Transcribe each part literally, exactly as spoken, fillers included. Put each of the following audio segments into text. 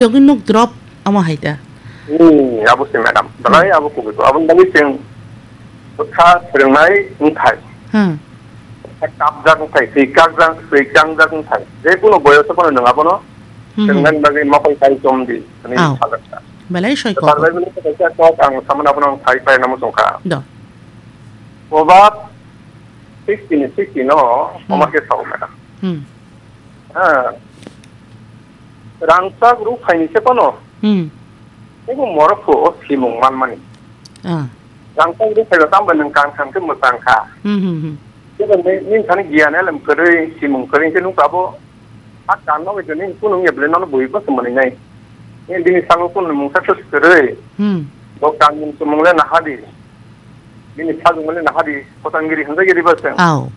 Yogwi nuk drop amo hai ta. Hmm, abo se madam. Belai abo kubui ko. Aboni bagwi chwng bwkha swrwngnai wngthai. Hmm. Bwkha kapjak wngthai, swi kakjak, swi kangjak wngthai. Je kuno boyoso phano nwng abono Hmm, hmm. swrwngnani bagwi mokol kai chom di, hwnwi Aw. sajak kha. Belai soi Kwthar kok. Bible ni kaisa kok ang samani abono ang sai paina muchung kha. Do. Proverb sixteen sixteen no Hmm. omo khe sao madam. Hmm. Ha. Rangchak rukphaini se phano Hmm. teibo morok pho o simung manmani. Ah. Rangchak rukphai rok tamo nwng kang kang khe mwchang kha. Hmm, hmm, hmm. Teibo ni, nini thani giyan elem kwrwi, simung kwrwi khe nukha abo a kan no bai nini kunu wngya bwle nono bui bo se mwnwi nai. Nini bini salo kunu mungsa khe kwrwi. Hmm. Bo kan mung chumung le naha di. Bini sajwk mani nahadi Kotangiri hinjagiri ba se. Aw.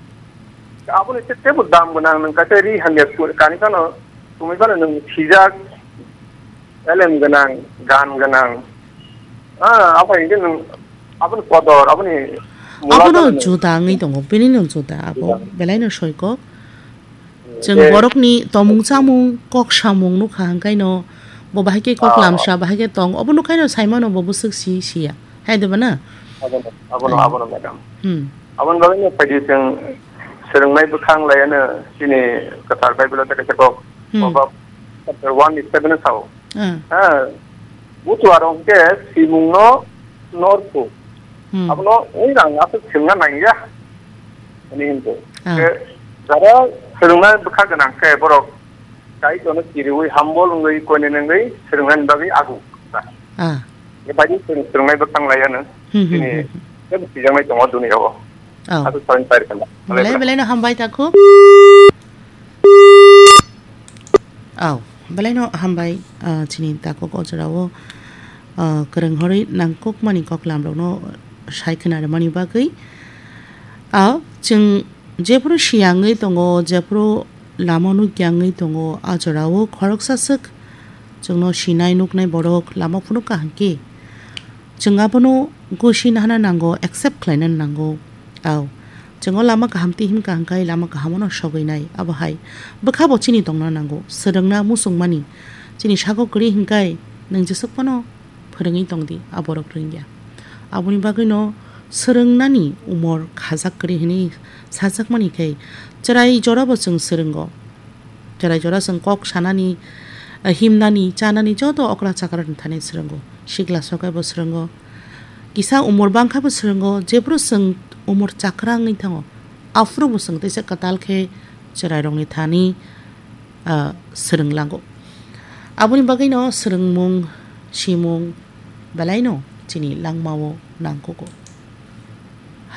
Aboni se tebo dam gwnang nwng kaisa ri hamya su-, kani phano, sumui phano nwng sijak, elem gwnang, gan gwnang. Ah, abo hinkhe nwng aboni kodor, aboni mula Abono phano nwng juda wngwi tongo, bini no juda abo, Juda. Belai no soikok. Chwng Je borokni tomung chamung, kok samung nukha hwnkhaino bo bahai khe kok Ah. lamsa, bahai khe tong, obo nukhaino saimano bo bwswk si siya. Hai de ba na? Abono, abono, Ai. Abono, madam. Hmm. Aboni bagwi no phaidi chwng swrwngnai bwkhang laiano chini kwthar Bible-o tei kaisa kok Hmm. Proverb chapter one ni seven o sao. Ah. Ha, butuarok hwnkhe simungno norkhu. Hmm. Abono wng rang aswk swngna nangya. Ani hinto. Ah. Ke jara swrwngna bwkha gwnang khe borok Kaitorno kiriwi humble wngwi koine nengwi swrwngnani bagwi agu. Ah. Ke baidi swrwng-, swrwngnai bwkhang laiano. Hmm, hmm, Chini hmm, hmm. tebo sijaknai tongo duniyao. Oh. Aswk salni pairikha. Belai, belai no hambai takhuk. Aw, belai no hambai, ah, chini takhuk o jorao, ah, kwrwng horwi nangkukmani koklam rokno sai khna rwmani bagwi. Aw, chwng jephuru siyangwi tongo, jephuru lama nukya wngwi tongo, a jorao khoroksa swk chwngno sinai nuknai borok lama phunuk kaham khe. Chwng abono gosi nahana nango, accept khlaina nango. Aw, chwng o lama kaham twi himkha hwnkhe lama kaham ono sogwi nai. Abo hai bwkha bo chini tongna nango, swrwngna muchungmani. Chini sago kwrwi hwnkhe nwng jeswk phano phwrwngwi tong di, a borok rwngya. Aboni bagwino swrwngnani umor khajak kwrwi hwnwi sajakmani khe chwrai jorabo chwng swrwngo. Chwrai jora chwng kok sanani, himnani, chanani joto okra chakra ni thani swrwngo. Sikla sokai bo swrwngo. Kisa umor bangkha bo swrwngo. Jephuru chwng umor chakra wngwi thango, aphuru bo chwng teisa kwtal khe chwrairokni thani, ah, swrwnglango. Aboni bagwino swrwngmung, simung belaino chini langmao nangkugo.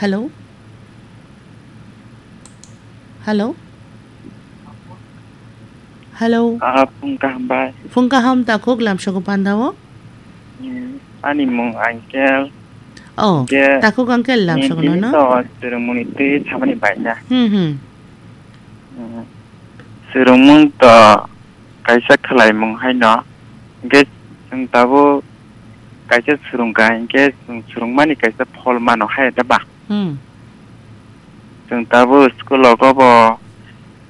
Hello? Hello? Hello? Ah, phung kaham bai. Phung kaham takhuk lamsogo pandao? Hmm, ani mung Angkel. Oh, Angkel. Takhuk Angkel lamsogo Nini nono? To swrwngmungni twi samani bai na. Hmm, hmm. Hmm. Swrwngmung to kaisa khwlaimung haino. Hwnkhe chwng tabuk kaisa swrwngkha, hwnkhe chwng swrwngmani kaisa phol mano hai da ba? Hmm. Chwng tabuk school o bo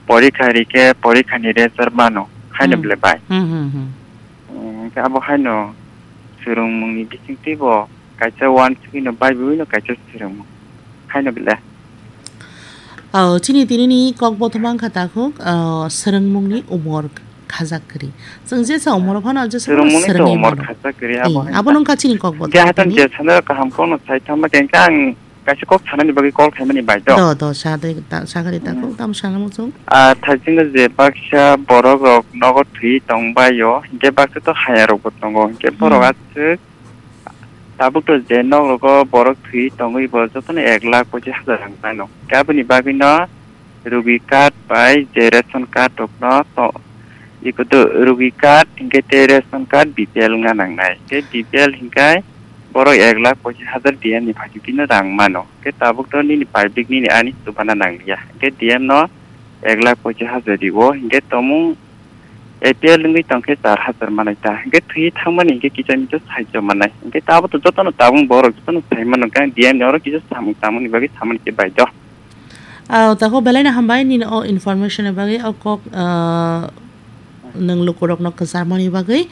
porikha rikhe, porikha ni result mano, haino Hmm. bwle bai. Hmm, hmm, hmm. Hmm, hwnkhe abo haino swrwngmung ni bisingtwi bo kaisa uansugwino Bible no kaisa swrwngmung, haino bwle. Oh, chini tini ni kok bothoma wngkha takhuk, oh, swrwngmung ni umor khajak kwrwi. Chwng jesa umor phano jesa Swrwngmung ni to swrwngwi umor mano. Khajak kwrwi, abo Hmm, haino abo ta. Nungkha chini kok Hwnkhe bothoma haithang tini. Je sana kaham kokno sai thangma khe hwnkhe ang kaisa kok sanani bagwi call khaimani bai do. Do, do, sa de, ta, sa kha de takhuk, Hmm. Tamo sana muchung. Ah, thaisingo je baksa borok rok nogo thwi tong bai o, hwnkhe baksa to haya rok bo tongo, hwnkhe borok Hmm. aswk tabuk to je nok rogo borok thwi tongwi bo jotono ek lakh pochis hajar rang mano. Hwnkhe aboni bagwi no rugi card bai je ration card rok no to, iko to rugi card hwnkhe tei ration card B P L wngna nangnai. Hwnkhe B P L hwnkhe borok ek lakh pochis hajar D M ni phaikhe bini rang mano. Hwnkhe tabuk to nini public nini ani chubana nangliya. Hwnkhe D M no ek lakh pochis hajar rio. Hwnkhe tomung A P L wngwi tongkhe char hajar manai ta. Hwnkhe thwi thangmani hwnkhe kicha micha saicho manai. Hwnkhe abo to jotono tabung borok jotono sai mano. Hwnkhe ang D M ni oro kisa samung tangmani bagwi samani khe bai do. Ah, tako belai no hambai nini o information ni bagwi, o kok, ah, nwng lukurokno kwcharmani bagwi.